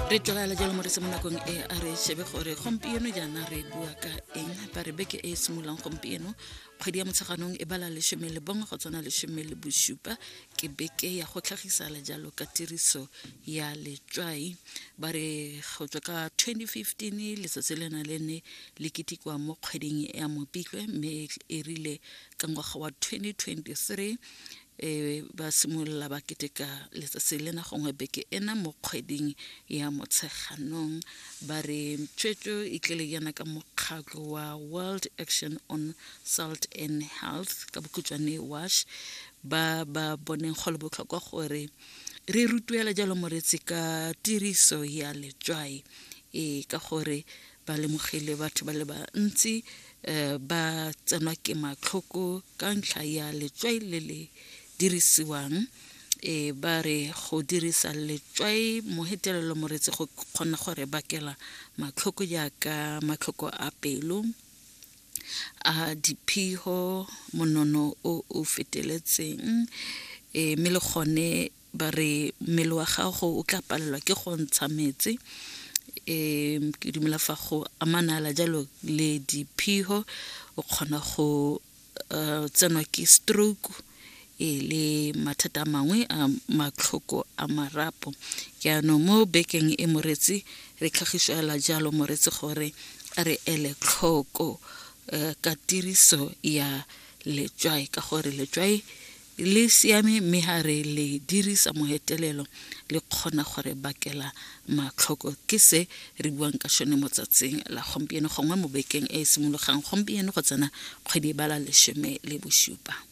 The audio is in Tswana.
Re tswelela jalo moretsi mo nakong e a re shebe gore gompieno jaana re bua ka eng. Ba re beke e e simololang gompieno, kgwedi ya Motsheganong e bala 11 go tsena 17, ke beke ya go tlhagisala jalo ka tiriso ya letswai. Ba re go tswa ka 2015 letsatsi lena le ne le ketekwa mo kgweding ya Mopitlwe, mme e rile ka ngwaga wa 2023 e ba simolola ba keteka letsatsi lena gongwe beke ena mo kgweding ya Motsheganong. Ba re tshwetso e tlile jaana ka mokgatlho wa World Action on Salt and Health, ka bokhutshwane WASH, ba ba boneng go le botlhokwa gore re rutuela jalo moretsi ka tiriso ya letswai, e ka gore ba lemogile batho ba le bantsi ba tsenwa ke matlhoko ka ntlha ya letswai le le dirisiwang. E ba re go dirisa letswai mo hetelelo moretsi go kgona gore bakela matlhoko jaaka matlhoko a pelo, a diphiho, monono o o feteletseng, e mme le gone ba re mmele wa gago o tla palelwa ke go ntsha metsi. Ke dumela fa go amanala jalo le diphiho, o kgona go tsenwa ke stroke e le mathata a mangwe a matlhoko a marapo. Jaanong mo bekeng e moretsi re tlhagisela jalo moretsi gore a re ele tlhoko ka tiriso ya letswai, ka gore letswai le siame mme ha re le dirisa mohetelelo le kgona gore bakela matlhoko. Ke se re buang ka sone mo tsatsing la gompieno gongwe mo bekeng e e simologang gompieno go tsena kgwedi e bala 17.